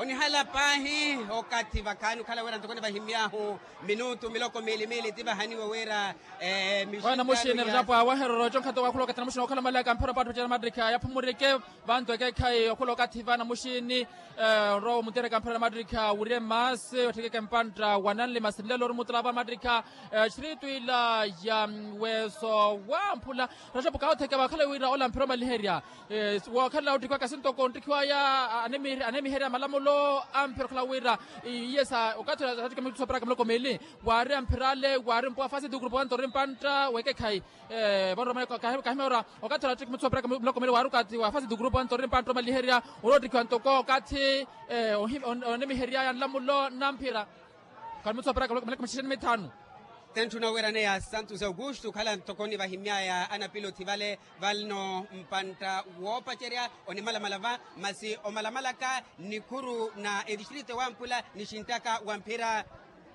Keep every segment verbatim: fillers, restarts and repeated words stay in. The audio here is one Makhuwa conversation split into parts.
Onihala paahi okathi vakhaani okhala wira ntoko nivahimy'ahu minutu miloko miili miili ti vahaniwe wira. Wana muxini errapo awahererya oco nkhato wakhula okathi namuxini okhala malaka mphira paatto cera mattikha yaphumurike. Vanto ekekhayi okhula okathi vana muxini onrowa omutereka mphira na mattikha wurye masi otthekeke mpantta wa nanli masi nlelo ori mutula va mattikha. Exiritu ila ya weso wamphula raxapo kawotheke vakhala wira ola mphira omaliherya. Wookhalela ottikhiwaka sintoko onttikhiwaya anemiherya malamulo amphira okhala wira iye sa okathi ula sattikha mithu sooperaka miloko miili. Waari amphira ale waari mpuwa fasi ti gurupu wanto ori mpantta wekekhayi. Vanromene kahimya ora okathi ula sattikha mithu sooperaka miloko miili waari okathi wa fasi ti gurupu wanto ori mpantta omaliherya ori ottikhiwa ntoko okathi onemiheryaya nlamulo namphira. Kani mithu sooperaka miloko mixixeni mithaanu. Tentthuna wira neya santos augusto okhala ntoko nivahimy'aya anapilothi vale. Valino mpantta woopacerya onimalamala va masi omalamalaka nikhuru na etistrito wamphula nixinttaka wa mphira.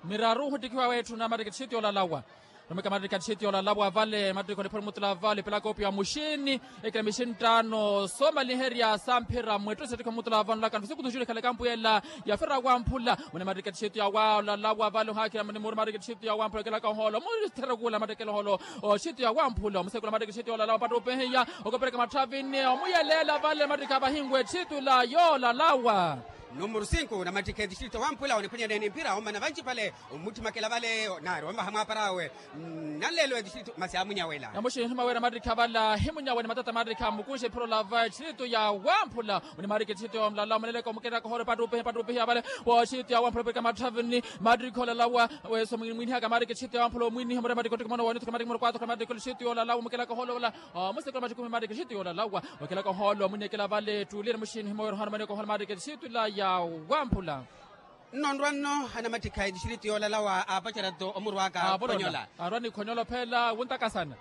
Miraru ohuttikhiwa wetthu na mattikha etistrito yoolalawa. Romeka mattikha etistrito yoolalawa vale mattikha oniphoni mutula vale pelaka opiya muxini ekina mixinttaano soomaliherya samphira mwettu sattikha mutula vale onlaka nfo sikutu nxulikhala ekampu yela. Yafira wamphula mune mattikha etistrito yawalalawa vale ohakhira mune muri mattikha etistrito yawamphula okelaka ohoolo mutherekula mattikha eloholo. Oxitu yawamphula omusekula mattikha exitu yoolalawa mpattu opehiya okopereka matthavini omuyeleela vale mattikha vahinwe exitu ila yoolalawa. Numuru sinku na mattikha etixitu yawamphula oniphwanyaneeni mphira omana vancipale. Omuttimakela vale nari omvaha mwaaparawe. Nanleelo etixitu masi amunyawela. Namuxini himawera mattikha vale ahimunyawe ni matata mattikha mukunxe ephiro lava exitu yawamphula. Onimarika exitu yawamphula omulalawa omuneleka omukelaka ohoolo mpattu opehiya mpattu opehiya vale. Woxitu yawamphula opereka matthavini mattikha olalawa. Weso mwinihaka marike xitu yawamphula omwiniha mure marike ottikimona wanithuka marike mure kwathuka marike xitu yoolalawa omukelaka ohoolo ola. Omusekula maxikumi marike xitu yoolalawa okelaka ohoolo omwinekela vale ettuli namuxini himowerohano maneko ohoolo marike xitu ila yawamphula. Nno nrwa nno anamattikha etistritu yoolalawa aapacerya-tho omurwaka khonyola. Arwa ni khonyola ophela wuntakasana.